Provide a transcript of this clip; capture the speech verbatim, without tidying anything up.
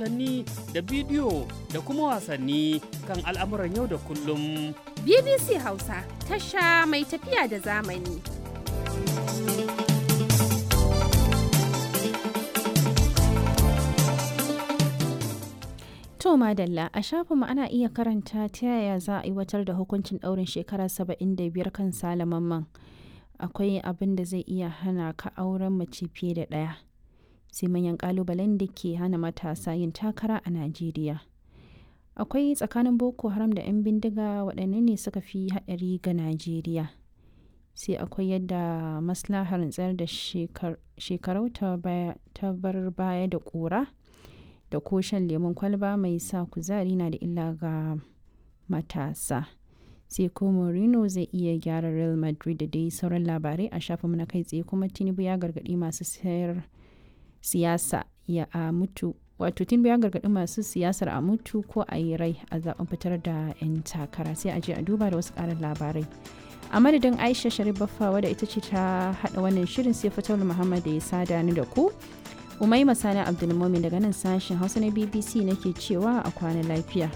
Rahotanni da bidiyo da kuma wasanni kan al'amuran yau da kullum. B B C Hausa, tasha mai tafiya da zamani. To madalla, a shafinmu ana iya karanta ta yaya za a aiwatar da hukuncin ɗaurin shekara saba'in da biyar kan Sale Mamman. Akwai abin da zai iya hana ka auren mace fiye da ɗaya. Sai manyan ƙalubalen da ke hana matasa yin takara a Najeriya. Akwai tsakanin Boko Haram da 'yan bindiga, waɗanne ne suka fi haɗari ga Najeriya? Sai akwai yadda maslahar tsayar da shekarau ta bar baya da ƙura. Da ko shan lemon kwalba mai sa kuzari na da illa ga matasa. Sai ko Mourinho zai iya gyara Real Madrid, da dai sauran labarai a shafinmu na kai tsaye. Kuma Tinubu ya gargaɗi masu sayar siyasa ya a mutu, wato Tinubu ya gargaɗi masu siyasar a mutu ko a yi rai a zaben fitar da 'yan takara. Sai a je a duba da wasu ƙarin labarai. A madadin Aisha Sharif Baffawa da ita ce ta haɗa wannan shirin, sai Fatawul Muhammad da ya sada ni da ku. Umaima Sani Abdulmumin daga nan sashen Hausa na B B C nake cewa a kwana lafiya.